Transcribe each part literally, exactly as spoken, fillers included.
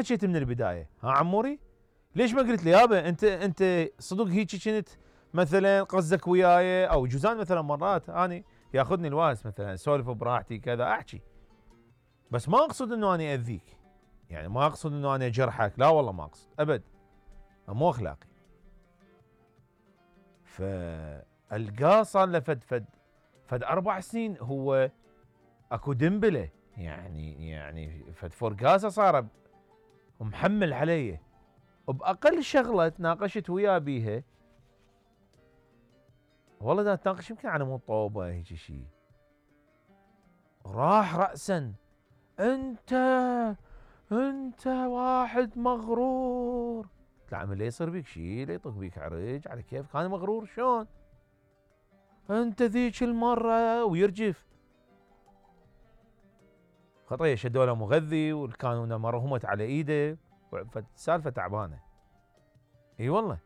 حكيت من البدايه؟ ها عموري؟ ليش ما قلت لي يابا انت انت صدق هيك كنت مثلا قصدك وياي؟ او جوزان مثلا مرات اني ياخذني الواس مثلا اسولف براحتي كذا احكي، بس ما اقصد انه اني اذيك، يعني ما اقصد انه اني اجرحك، لا والله ما اقصد ابد، مو اخلاقي. فالقاه صار له فد فد فد اربع سنين هو اكو دنبله، يعني يعني فد فرقاسه صار ومحمل علي وباقل شغله تناقشت وياه بيها، والله دا تناقش يمكن على مو طوبه هيك شيء، راح راسا انت انت واحد مغرور. قلت له عمي لا يصير بيك شيء، لا يطق بيك عرج، على كيفك انا مغرور شلون؟ انت ذيك المره ويرجف خطيه شدوا له مغذي والكانونه مرهمت على ايده، سالفه تعبانه. اي والله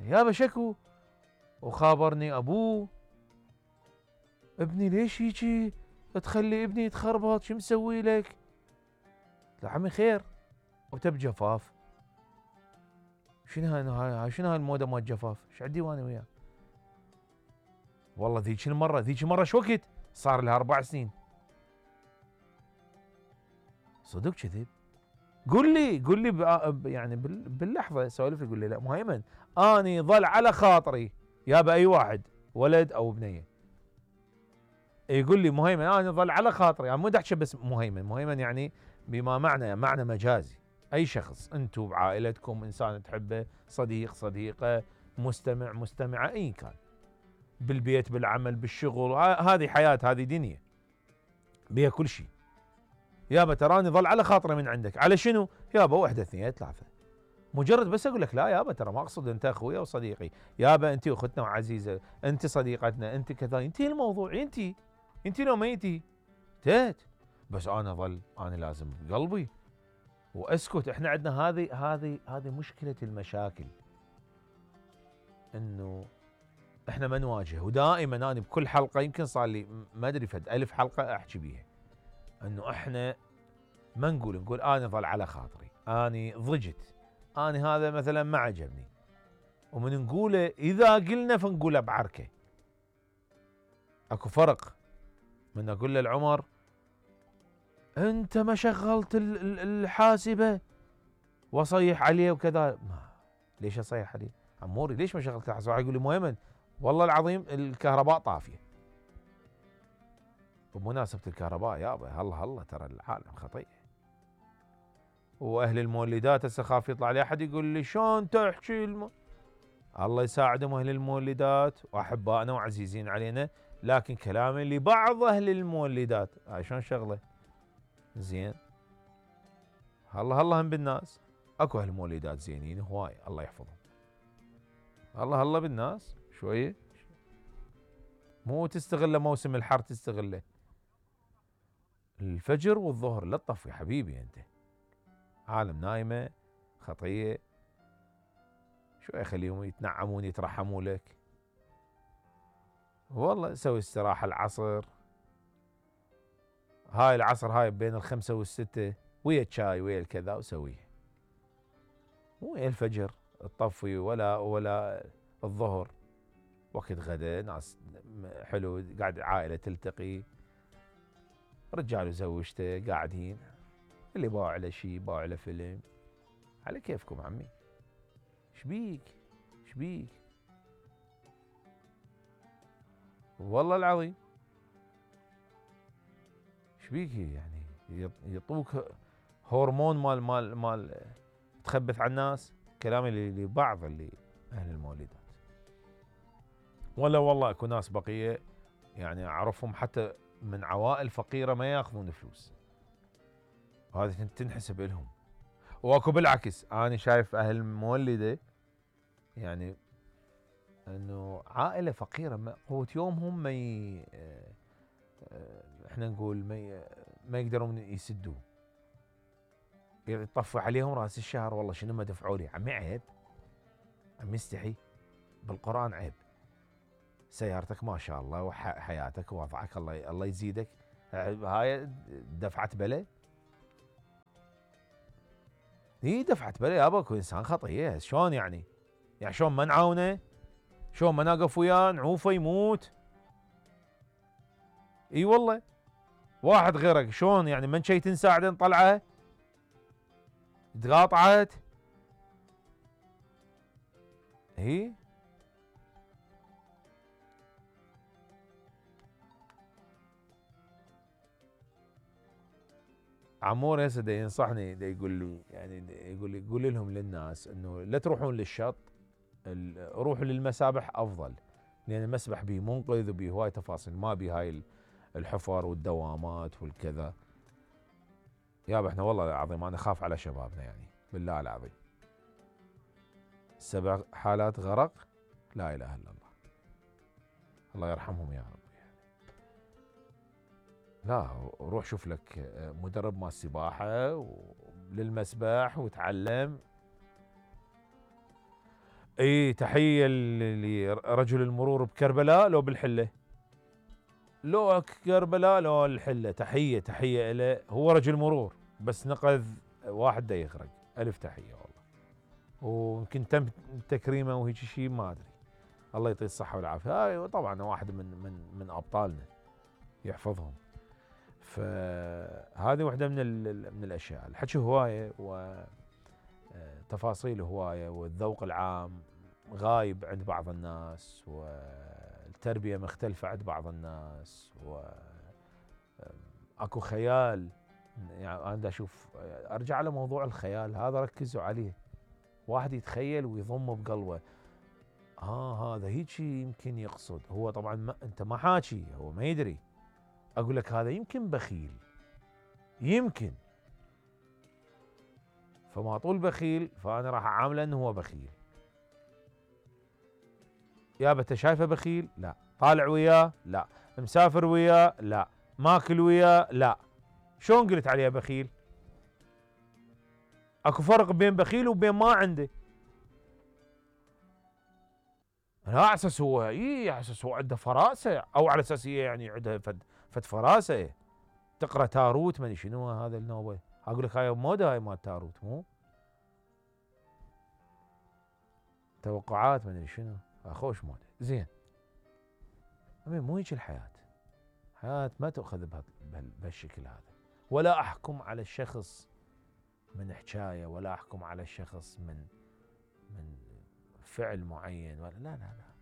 يابا شكو، وخابرني ابوه ابني ليش هيجي تخلي ابني يتخربط، شو مسوي لك؟ قلت له عمي خير وتب جفاف. شنو هاي شنو هاي الموده مال جفاف؟ ايش عندي وانا وياه؟ والله ذيك المره ذيك المره شو وقت؟ صار لها اربع سنين. صدق كذب؟ قل لي قل لي يعني باللحظه سولف لي قول لي لا مهيمن اني ظل على خاطري يابا اي واحد ولد او بنيه يقول لي مهيمن اني ظل على خاطري، يعني مو احكي بس مهيمن، مهيمن يعني بما معنى معنى مجازي، اي شخص انتم بعائلتكم انسان تحبه، صديق صديقه، مستمع مستمعه، اي كان بالبيت بالعمل بالشغل، هذه حياه هذه دنيا بيها كل شيء. يابا تراني ظل على خاطره من عندك، على شنو؟ يابا واحده اثنين ثلاثه، مجرد بس اقول لك لا يابا ترى ما اقصد انت اخويا وصديقي، يابا انت اختنا وعزيزه، انت صديقتنا، انت كذا، انتهي الموضوع، انت انت لو ميتي انتهت. بس انا ظل انا لازم بقلبي واسكت. احنا عندنا هذه هذه هذه مشكله المشاكل، انه احنا ما نواجه، ودائما انا بكل حلقه يمكن صار لي ما ادري فد الف حلقه احكي بيها، انه احنا ما نقول نقول انا ظل على خاطري، اني ضجت، انا هذا مثلا ما عجبني، ومن نقوله اذا قلنا فنقوله بعركه. اكو فرق من اقول للعمر انت ما شغلت الحاسبه واصيح عليه وكذا، ليش اصيح عليه؟ عموري ليش ما شغلت الحاسبه؟ يقول لي مهيمن والله العظيم الكهرباء طافيه. بمناسبه الكهرباء يابا هلا هلا ترى العالم خطير، واهل المولدات هسه خاف يطلع لي احد يقول لي شلون تحكي الم... الله يساعدهم اهل المولدات واحبائنا وعزيزين علينا، لكن كلامي لبعض اهل المولدات هاي شلون شغله؟ زين هلا هلا هم بالناس اكو اهل مولدات زينين هواي الله يحفظهم، هلا هلا بالناس شويه، مو تستغله موسم الحر تستغله الفجر والظهر، لا تطفي حبيبي انت، عالم نايمه خطيه، شويه خليهم يتنعمون يترحموا لك، والله سوي استراحه العصر، هاي العصر هاي بين الخمسة والستة ويا الشاي ويا الكذا وسويه، مو ويا الفجر تطفي ولا ولا الظهر وقت غدا ناس حلو قاعد عائله تلتقي، رجال وزوجته قاعدين، اللي باع له شيء باع له فيلم، على كيفكم عمي، شبيك شبيك والله العظيم شبيك، يعني يعطوك هرمون مال مال مال تخبث على الناس، كلامي لبعض اللي اهل المولدات. ولا والله اكو ناس بقيه يعني اعرفهم حتى من عوائل فقيره ما ياخذون فلوس، هذه تنحسب لهم، واكو بالعكس انا شايف اهل مولده يعني انه عائله فقيره قوه يومهم ما ي... احنا نقول ما ي... ما يقدرون يسدوه، يطفي عليهم راس الشهر والله شنو ما دفعوا لي، عمي عيب، عمي استحي، بالقران عيب، سيارتك ما شاء الله وحياتك ووضعك الله الله يزيدك، هاي دفعه بلا هي دفعت بلا يابا اكو انسان خطيه، شلون يعني؟ يعني شلون ما نعاونه؟ شلون ما نقف وياه نعوفه يموت؟ اي والله، واحد غيرك شلون يعني من شي تنساعده نطلعه؟ تقاطعت؟ هي عمور هسه دا ينصحني، دا يقول لي يعني دا يقول لي قول لهم للناس انه لا تروحون للشط، روحوا للمسابح افضل، لان المسبح بيه منقذ وبيه هواي تفاصيل، ما بيه هاي الحفر والدوامات والكذا. يابا احنا والله العظيم انا اخاف على شبابنا يعني بالله العظيم. سبع حالات غرق، لا اله الا الله، الله يرحمهم يا رب. لا روح شوف لك مدرب مال سباحه للمسبح وتعلم. اي تحيه لرجل المرور بكربلاء لو بالحله، لو كربلاء لو الحله، تحيه تحيه له، هو رجل مرور بس نقذ واحد دا يغرق، الف تحيه والله. ويمكن تم تكريمه وهيك شيء ما ادري، الله يعطيه الصحه والعافيه. هاي طبعا واحد من من من ابطالنا يحفظهم. فهذه واحده من من الاشياء. الحكي هوايه وتفاصيل هوايه، والذوق العام غايب عند بعض الناس، والتربيه مختلفه عند بعض الناس، واكو خيال. يعني انا اشوف ارجع على موضوع الخيال هذا، ركزوا عليه. واحد يتخيل ويضمه بقلبه، اه هذا هيك يمكن يقصد هو، طبعا ما انت ما حاكي، هو ما يدري. اقول لك هذا يمكن بخيل، يمكن، فما طول بخيل فانا راح اعامله انه هو بخيل. يابا انت شايفه بخيل؟ لا. طالع وياه؟ لا. مسافر وياه؟ لا. ماكل وياه؟ لا. شلون قلت عليه بخيل؟ اكو فرق بين بخيل وبين ما عنده. لا على اساس هو اي على اساس هو عنده فراسه، او على اساس هي يعني عندها فد فد فراسه تقرا تاروت ما ادري شنو هذا النوبه. اقول لك هاي موده، هاي مال تاروت، مو توقعات ما ادري شنو، خوش موده. زين مو هيك الحياه، الحياه ما تؤخذ بهالشكل هذا. ولا احكم على الشخص من حكايه، ولا احكم على الشخص من من فعل معين، ولا لا لا لا،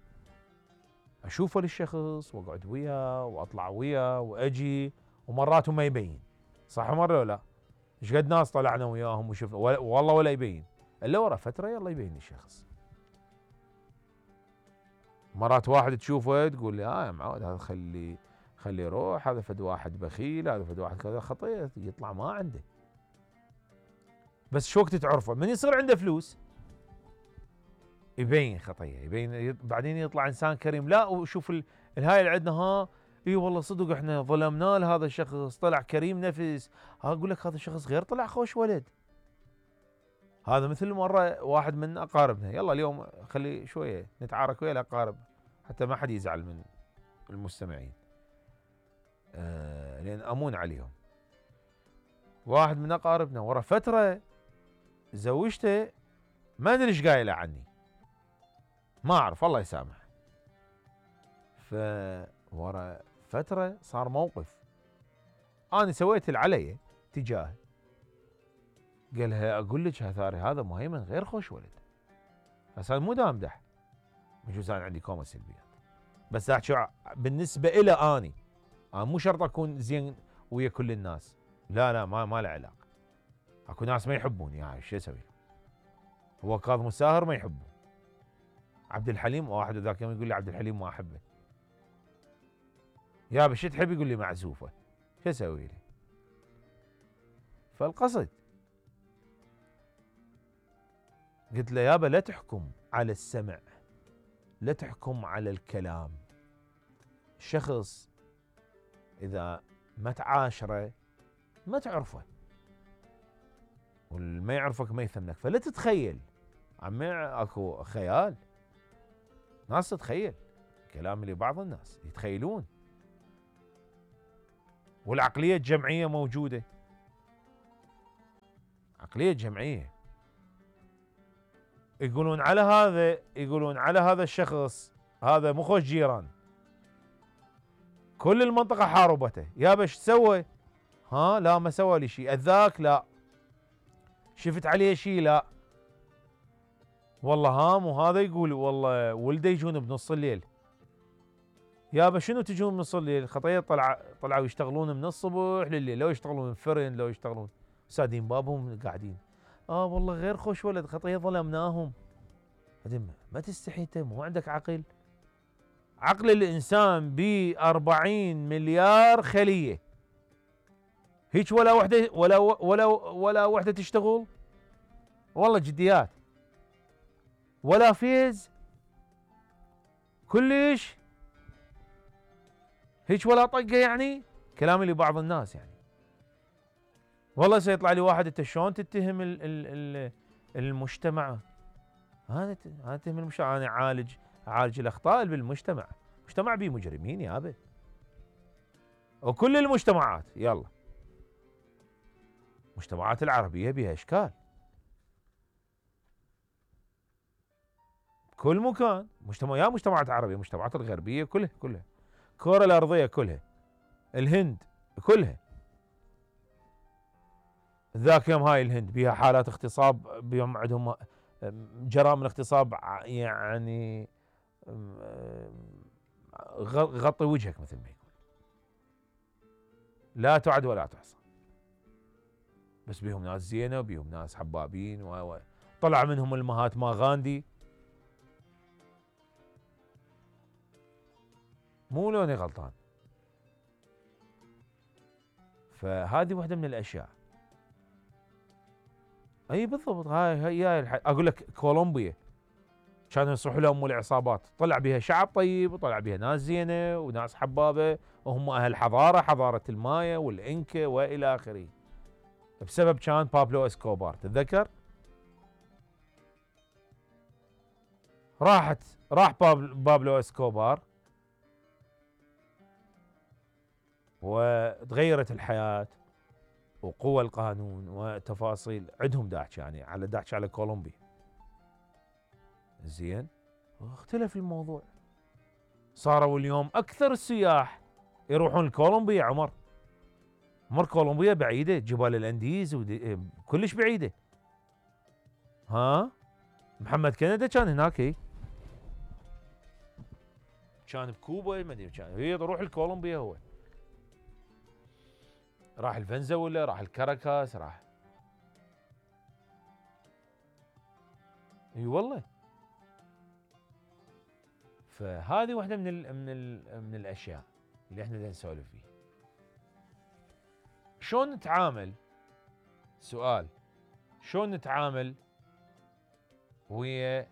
اشوفه للشخص واقعد وياه واطلع وياه واجي، ومرات ما يبين. صح مره ولا لا؟ ايش قد ناس طلعنا وياهم وشفنا والله ولا يبين، الا ورا فتره يلا يبين الشخص. مرات واحد تشوفه تقول لي اه يا معود هذا خلي خلي يروح، هذا فد واحد بخيل، هذا فد واحد كذا، خطيه يطلع ما عنده. بس شو وقت تعرفه؟ من يصير عنده فلوس يبين خطيه، يبين بعدين يطلع انسان كريم. لا وشوف الهاي اللي عندنا، ها اي والله صدق احنا ظلمناه لهذا الشخص، طلع كريم نفس. اقول لك هذا الشخص غير، طلع خوش ولد. هذا مثل مره واحد من اقاربنا، يلا اليوم خلي شويه نتعارك ويا الاقارب حتى ما حد يزعل من المستمعين، آه لان امون عليهم. واحد من اقاربنا ورا فتره زوجته، ما ادري ايش قايله عني، ما اعرف الله يسامح. فورا فتره صار موقف، انا سويت اللي علي تجاهه. قالها اقول لك هثاري هذا مهيمن غير خوش ولد. بس هذا مو دا امدح، بجوز انا عندي كومه سلبيات، بس احكي بالنسبه الى اني، انا مو شرط اكون زين ويا كل الناس، لا لا ما ما له علاقه. اكو ناس ما يحبوني، يعني شو اسوي؟ هو كاظم الساهر ما يحبه، عبد الحليم واحد ذاك يوم يقول لي عبد الحليم ما احبه. يا بش تحب؟ يقول لي معزوفه، شو اسوي لي؟ فالقصد قلت له يابا لا تحكم على السمع، لا تحكم على الكلام. الشخص اذا ما تعاشره ما تعرفه، والما يعرفك ما يثمنك، فلا تتخيل. عمي اكو خيال، ناس تتخيل كلام لبعض الناس يتخيلون، والعقلية الجمعية موجودة، عقلية جمعية يقولون على هذا يقولون على هذا الشخص هذا مو خوش جيران، كل المنطقة حاربته، يابا ايش سوى؟ ها لا ما سوى لي شيء، اذاك لا، شفت عليه شيء لا، والله هام. وهذا يقول والله ولده يجون بنص الليل، يابا شنو تجون بنص الليل؟ خطيه طلع طلعوا يشتغلون من الصبح لليل، لو يشتغلون فرن لو يشتغلون سادين بابهم قاعدين. اه والله غير خوش ولد، خطيه ظلمناهم. ما تستحي انت؟ مو عندك عقل؟ عقل الانسان ب أربعين مليار خليه، هيك ولا وحده ولا ولا ولا وحده تشتغل؟ والله جديات، ولا فيز كلش، هيك ولا طقه يعني. كلامي لبعض الناس يعني، والله سيطلع لي واحد انت شلون تتهم ال ال ال المجتمع؟ انا انا اتهم المجتمع؟ انا اعالج اعالج الاخطاء بالمجتمع، المجتمع بيه مجرمين يابا، وكل المجتمعات، يلا المجتمعات العربيه بها اشكال، كل مكان مجتمع، يا مجتمعات عربيه مجتمعات الغربيه كلها كلها، الكره الارضيه كلها، الهند كلها. ذاك يوم هاي الهند بيها حالات اغتصاب، بيوم عندهم جرائم الاغتصاب يعني غطي وجهك مثل ما يقول، لا تعد ولا تحصى. بس بيهم ناس زينه وبيهم ناس حبابين، و طلع منهم المهاتما غاندي، مو لوني غلطان. فهذه واحده من الاشياء. اي بالضبط، هاي هي الح... اقول لك كولومبيا كانوا يصرحوا لهم العصابات، طلع بها شعب طيب وطلع بها ناس زينه وناس حبابه، وهم اهل حضاره، حضاره المايا والانكا والى اخره، بسبب كان بابلو اسكوبار. تتذكر؟ راحت راح بابلو اسكوبار وتغيرت الحياه وقوى القانون وتفاصيل، عندهم داعش يعني على داعش على كولومبيا. زين، اختلف الموضوع، صاروا اليوم اكثر السياح يروحون لكولومبيا. عمر عمر كولومبيا بعيده، جبال الانديز كلش بعيده. ها محمد كندا كان هناك، هي كان بكوبا، ما ادري كان، هي يروح لكولومبيا، هو راح الفنزويلا، راح الكاراكاس، راح. اي والله. فهذه واحده من ال من ال من الاشياء اللي احنا بدنا نسولف فيها. شلون نتعامل؟ سؤال، شلون نتعامل ويا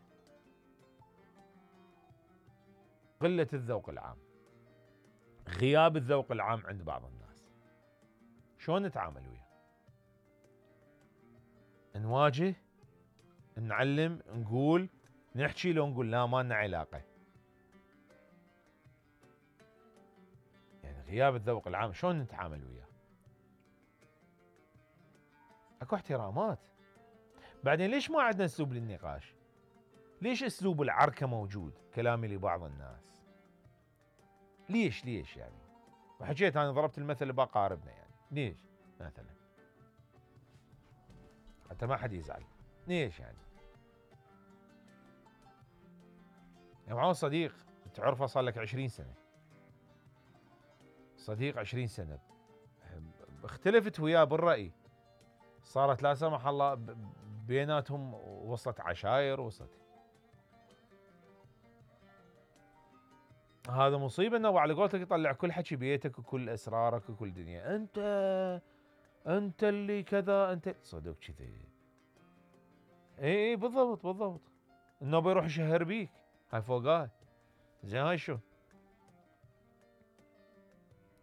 قلة الذوق العام، غياب الذوق العام عند بعض الناس؟ شلون نتعامل وياه؟ نواجه، نعلم، نقول، نحكي، لو نقول لا ما لنا علاقة؟ يعني غياب الذوق العام شلون نتعامل وياه؟ اكو احترامات. بعدين ليش ما عندنا اسلوب للنقاش؟ ليش اسلوب العركة موجود؟ كلامي لبعض الناس، ليش ليش يعني؟ وحكيت انا ضربت المثل باقاربنا يعني، ليش مثلا؟ حتى ما حد يزعل، ليش يعني؟ يعني معه صديق تعرفه صار لك عشرين سنة، صديق عشرين سنة، اختلفت وياه بالرأي، صارت لا سمح الله بيناتهم وصلت عشاير، وصلت، هذا مصيبة انه على قولتك يطلع كل حكي بيتك وكل اسرارك وكل دنيا، انت انت اللي كذا، انت صدق كذي. اي اي بالضبط بالضبط، انه بيروح يشهر بيك، هاي فوقاه. زين هاي شو؟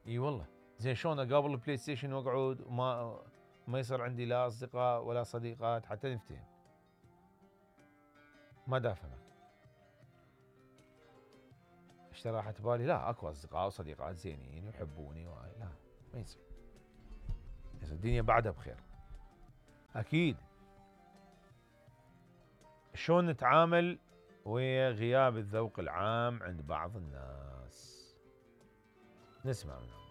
اي والله. زين شلون اقابل البلاي ستيشن واقعد وما ما يصير عندي لا اصدقاء ولا صديقات حتى نفتهم؟ ما دافهمك. ايش راحت بالي؟ لا اكو اصدقاء وصديقات زينين ويحبوني وهاي، لا ما يصير. الدنيا بعدها بخير اكيد. شلون نتعامل ويا غياب الذوق العام عند بعض الناس؟ نسمع منهم.